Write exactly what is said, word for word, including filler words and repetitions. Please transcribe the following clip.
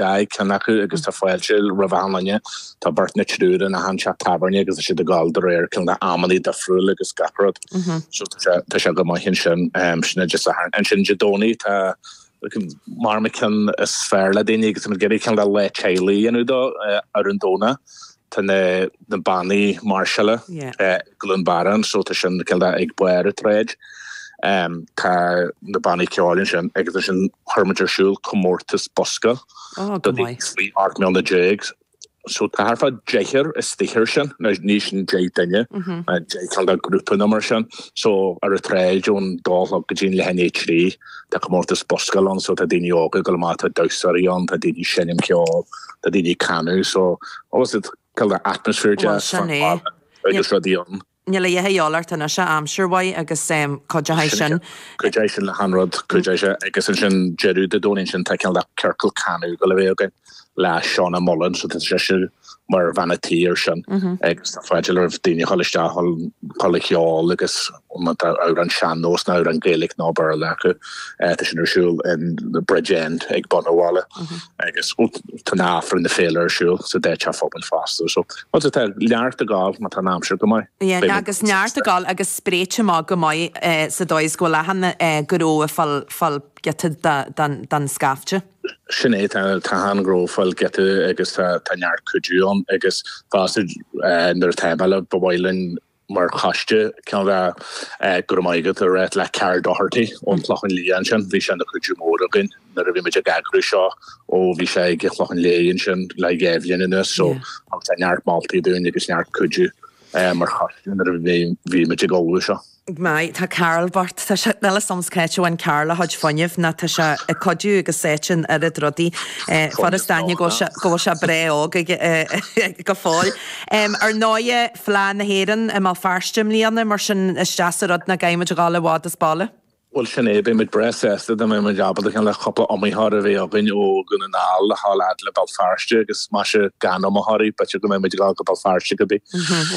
ag ceann acu agus tá fáilte roimh achan duine. Tá beirt nó triúr in achan teach tábhairne agus tá siad ag gabháil de réir cineál amannaí difriúil agus gach rud. So tá sé tá sé go maith ansin sin Dé Sathairn. Ansin Dé Domhnaigh tá mar an ceann is fearr le daoine agus muid ag iarraidh cineál de lá teaghlaigh a dhéanamh dó ar an Domhnach. Tá na na bannaí máirseála i gCluain Barra so tá sin cineál de ag barr an tsráid. Tá na bannaí ceoil ansin agus ansin chuir muid ar siúl comórtas bosca do daoine faoi ocht mbliana déag. So tá thart fá deichniúr istigh air sin, ní sin deich duine, deich cineál de grúpa nó mar sin. So ar an tsráid ón dó a chlog go dtí an leath i ndiaidh a trí tá comórtas bosca ann so tá daoine óga ag dul amach, tá damhsóirí ann, tá daoine ag seinm ceoil, tá daoine ag canadh so obviously cineál de atmaisféar deas agus rudaí ann. Níl a dhath a dhíobháil ort anois, aimsir mhaith agus cuideoidh sin. Cuideoidh sin le haon rud, cuideoidh sé agus ansin deireadh Dé Domhnaigh ansin tá cineál de ciorcal canadh ag dul a bheith againn le Shauna Mullen so tá sise mar bhean a' tí ar sin agus tá fáilte roimh daoine a dhul isteach dhul ag ceol agus má tá amhrán sean-nós nó amhrán Gaeilge nó Béarla acu tá sin ar siúl in the Bridge End ag bun an bhaile agus tá an Aifreann na féile ar siúl sa dá teach pobail fosta so tá neart ag gabháil má tá an aimsir go maith. Yeah, agus neart ag gabháil agus spréite amach go maith sa dóigh is go bhfuil achan gnó ag fáil fáil giota den scaifte. Sin é, tá achan ghnó ag fáil giota agus tá neart cuidiú ann agus fosta nuair atá mé le ba mhaith linn mar choiste cineál de go raibh maith agat a rá le Karl Doherty ón Chlochán Liath ansin, bhí sé ina chuidiú mór againn nuair a bhí muid ag eagrú seo ó bhí sé ag an Chlochán Liath ansin le dhá bhliain anuas so thug sé neart moltaí dúinn agus neart cuidiú mar choiste nuair a bhí muid ag ullmhú seo. Maith, tá Karl bocht, tá sé, níl a fhios a'm cá háit a bhain Karl a chuid fuinnimh ná tá sé ag cuidiú agus sáite in oiread rudaí. Fuair is d'aithne go bhfuil sé, go bhfuil sé breá óg ag, go fóill. Ar ndóighe, Fleadh na hÉireann i mBéal Feirste i mbliana, mar sin is deas an rud nach gcaithfidh muid a dhul i bhfad as baile. Bhuel sin é, beidh muid breá sásta dá mbeidh muid ábalta cineál cúpla iomaitheoir a bheith againn ó Dhún na nGall a ghabháil fhad le Béal Feirste agus más ea gan iomaitheoirí, b'fhéidir go mbeidh muid ag dul go Béal Feirste cibé.